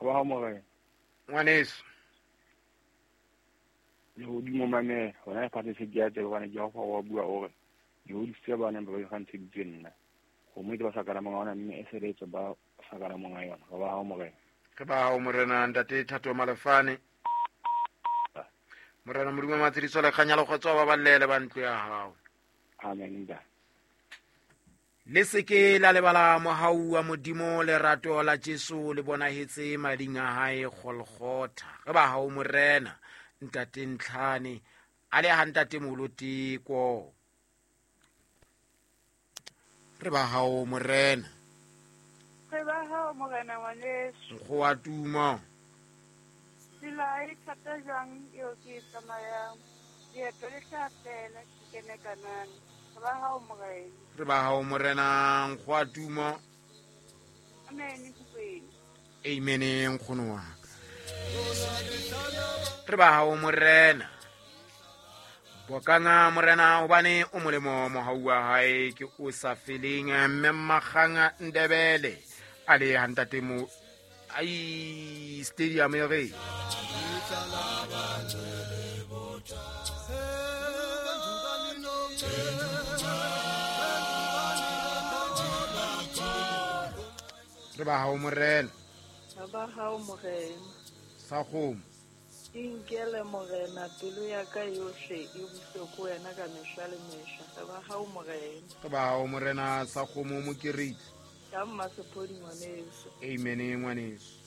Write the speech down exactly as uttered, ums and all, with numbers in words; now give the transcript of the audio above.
Ba hao morena. Ngwaneso. Le hodimo mamela, hona lefatshe se ke a tseba hobane Jehova wa bua o re, ke hodisitse ba neng ba ikgantsheditse nna. Kgomo e ba sa kana monga yona mme e sebetse ba sa kana monga yona. Re ba hao morena. Re ba hao morena ntate Thato Malefane. Morena Modimo Matshidiso le kganya le kgotso ba ballele ba ntlo ya hao. Amen ntate. Le seke la lebala mohau wa Modimo lerato la Jesu le bonahetse mading a hae Golgotha. Re ba hao morena ntate Ntlhane a le ha ntate Moloteko. Re ba hao morena. Re ba hao morena ngwaneso. Nkgo wa tumo. Tsela e thata jwang eo ke e tsamayang. Leeto le tla fela ke kene Kanana. Re ba hao morena. Re ba hao morena nkgo wa tumo. Amen Mokwena. Amen nkgono wa ka. Re ba hao morena. Bokanga morena hobane o molemo mohau wa hae ke o sa feleng mme Makganga Ndebele a le ha ntate mo ai stadium e re re ba hao morena. Re ba hao morena. Sa kgomo. Inkele morena pelo ya ka yohle e buse ko wena ka mehla le mehla. Re ba hao morena. Re ba hao morena sa kgomo mokeritsi. Ka Mmasepodi ngwaneso. Amen ngwaneso.